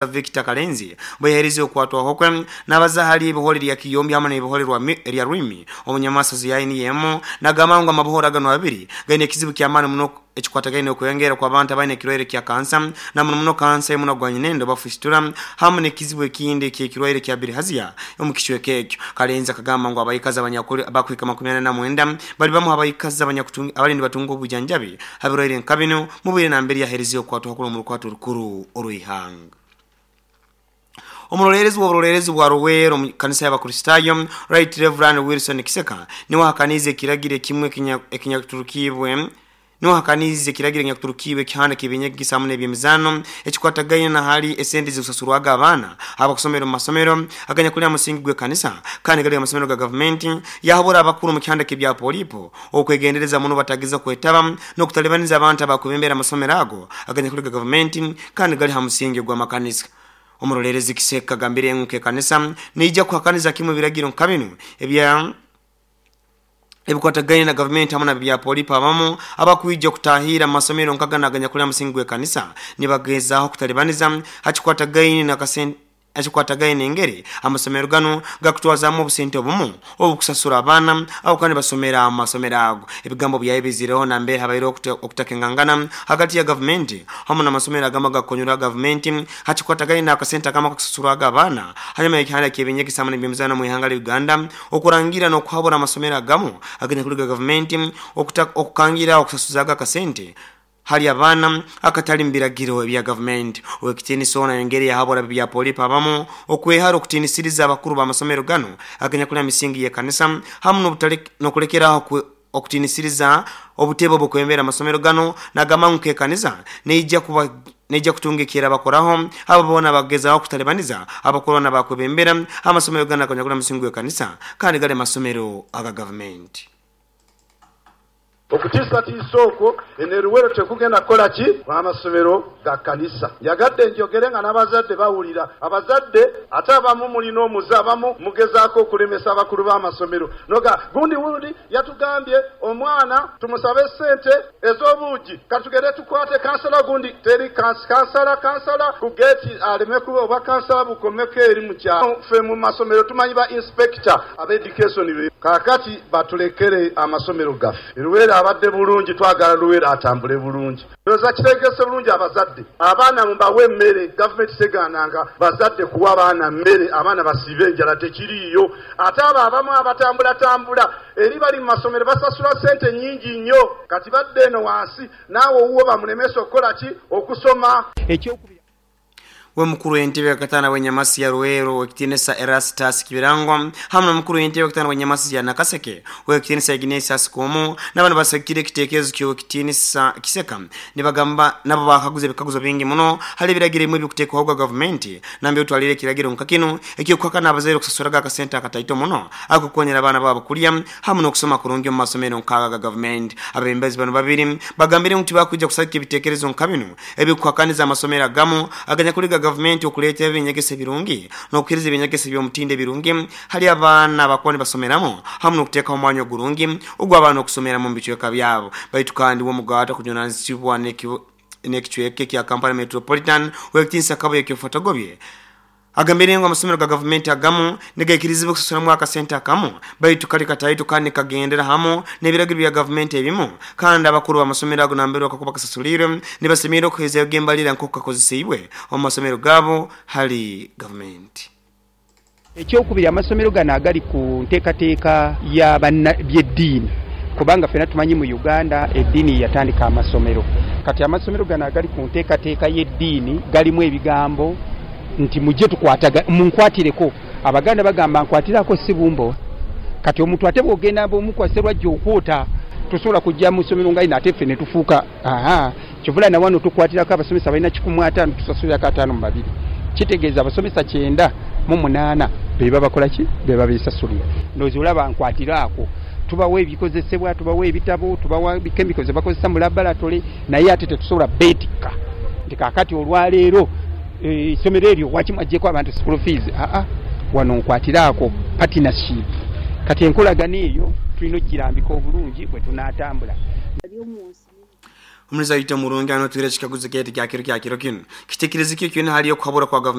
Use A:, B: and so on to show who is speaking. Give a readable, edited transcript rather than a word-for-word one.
A: Victor Kalenzi bwe okwatwaho kwe n'abaza hali ebihore lya Kiyombi hamwe n'ebihore lya Rwimi omunyamasozi yaini yemo nagamba ngu amabuhoro gano abiri gaine ekizibu ky'amaani muno ekikwatagaine okweyongera kw'abantu abaine ekirwaire kya kansa na muno muno kansa y'omunwa gwa nyinendo bafisitula hamwe n'ekizibu ekindi eky'ekirwaire kya bilharzia omu kicweka ekyo. Kalenzi akagamba ngu abaikazi abanyakuli bakuhika 49 bali bamu abaikazi abali nibatunga obujanjabi habirwaire nka bino mu bwire nambere yaherize okwatwaho kuri omu rukwato rukuru orw'ihanga. Omurolerezi w'oburolerezi bwa Ruweero mu kanisa y'Abakristaayo Right Reverend Wilson Kiseka niwe ahakaniize ekiragiro ekimwe ekinyakuturukibwe niwe ahakaniize ekiragiro ekinyakuturukibwe ekihanda ky'ebyenyegesa hamwe n'ebyemizaano ekikwatagaine na hali esente zikusasurwaga abaana abakusomera omu masomero aganyakuli aha musingi gw'ekanisa kandi gali amasomero ga gavumenti. Yahabura abakuru mu kihanda ky'ebya polipo okwegendereza muno batageza kwetaba n'okutalibaniza abantu abakwebembera amasomero ago aganyakuli ga gavumenti kandi gali ha musingi gw'amakanisa. Omurolerezi Kiseka agambire ngu nk'ekanisa neija kuhakaniza kimwe ebiragiro nka binu ebya ebikwatagaine na gavumenti hamwe na bya polipo abamu abakwija kutahira mu masomero nka gano aganyakuli aha musingi gw'ekanisa nibagezaho kutalibaniza hakikwatagaine na kasente ekikwatagaine engeri amasomero gano gakutwazamu obusente obumu obukusasura abaana abo kandi basomera mu masomero ago. Ebigambo byaye bizireho nambere habaireho okutakengangana hagati ya gavumenti hamwe n'amasomero agamu agakonyerwa gavumenti hakikwatagaine n'akasente akamu akakusasurwaga abaana hanyuma y'ekihanda ky'ebyenyegesa hamwe n'ebyemizaano mu ihanga lya Uganda okurangira n'okuhabura amasomero agamu aganyakuli ga gavumenti okukangira okusasuzaga akasente hali abaana akatali mu biragiro ebya gavumenti. Owekitiinisa ono ayongere yahabura bya polipo abamu okwehara okutiinisiriza abakuru b'amasomero gano aganyakuli aha misingi y'ekanisa hamwe n'okulekeraho okutiinisiriza obutebe obukwembera amasomero gano. Nagamba ngu nk'ekanisa neija kutunga ekyerabakoraho abo boona bagezaho kutalibaniza abakuru n'abakwebembera amasomero gano aganyakuli aha musingi gw'ekanisa kandi gali amasomero aga gavumenti.
B: Okutiisatiisa okwo eno Luweero tekugenda kukola ki amasomero ga kanisa. Njagadde njogere nga n'abazadde bawulira. Abazadde ate abamu mulina omuze, abamu mugezaako okulemesa abakulu b'amasomero noga gundi wundi yatugambye omwana tumusabe ssente ez'obuugi, katugende tukwate kansala gundi teri kansala kansala ku geeti aleme kuba oba kansala bukomeko eri mu kyalo. Ffe mu masomero tumanyi ba inspector aba education kaakati batulekere amasomero gaffe. Luweero abadde bulungi, twagala Luweero atambule bulungi. Ndowooza kitegese bulungi abazadde abaana mubawe emmere. Gavumenti tegaananga bazadde kuwa baana mmere, abaana basiibe enjala tekiriiyo. Ate abo abamu abatambulatambula eri bali mu masomero basasula ssente nnyingi nnyo, kati badde eno wansi naawe owuwo bamulemesa okukola ki okusoma.
A: We mukuru w'entebe yakatana w'enyamasi ya Ruweero w'ekitiinisa Erastus Kibirango hamwe n'omukuru w'entebe yakatana w'enyamasi ya Nakaseke w'ekitiinisa Ignatius Kumu n'abandi basagikire ekiteekerezo ky'owekitiinisa Kiseka nibagamba nabo bakaguza ebikaguzo bingi muno hali ebiragiro ebimwe ebikuteekwaho gwa gavumenti nambere otwalire ekiragiro nka kinu eky'okuhakana abazaire okusasuraga akasente akataito muno akukonyera abaana baabo kulya hamwe n'okusoma kurungi omu masomero nk'aga ga gavumenti. Abebembezi bano babiri bagambire ngu tibakwija kusagika ebiteekerezo nka binu ebikuhakaniza amasomero agamu aganyakuli ga gavumenti okuleeta ebinyegesa ebirungi n'okuhiriza ebinyegesa eby'omutindo ebirungi hali abaana abakuba nibasomeramu hamwe n'okuteekaho omwanya ogurungi ogw'abaana okusomeramu mu bicweka byabo. Baitu kandi w'omugaata kujunanizibwa n'ekicweka ekya Kampala Metropolitan w'ekitiinisa Kabuye Kyofatogobye agambire ngu amasomero ga gavumenti agamu nigaikirizibwa okusasuramu akasente akamu baitu kali kataito kandi nikagendera hamu n'ebiragiro bya gavumenti ebimu kandi abakuru b'amasomero ago nambere bakakuba kasasulirwe nibasemerire okuhezayo gembalira nk'oku kakozeseibwe omu masomero gaabo hali gavumenti.
C: Ekyokubiri, amasomero gano agali ku nteekateeka ya by'eddiini, kubanga ffena tumanyi mu Uganda eddiini yatandika amasomero. Kati amasomero gano agali ku nteekateeka y'eddiini galimu ebigambo nti mujje tukwataga munkwatireko. Abaganda bagamba nkwatirako si bumbo. Kati omuntu ate bw'ogenda bw'omukwasa lwajja okwota, tosobola kujja mu ssomero nga lino ate ffe ne tufuuka aha. Kyovula na wano tukwatirako abasomesa balina 150, tusasulirako 52. Kitegeeza abasomesa 98 be babakola ki? Be babeesasulira. Ndowooza olaba nkwatiraako. Tubawa ebikozesebwa, tubawa ebitabo, tubawa chemicals ze bakozesa mu laboratory, naye ate tetusobola beetikka nti kaakati olwaleero essomero eryo waki mwaggyeko abantu school fees. Aa, wano nkwatiraako partnership. Kati enkolagana eyo tulina okugirambika obulungi bwe tunaatambula.
A: Omuliza waitu omurungi, ano twire ekikaguzo kyaitu kya kiro kinu. Kitekerezo ki kyona hali okuhabura kwa gavumenti?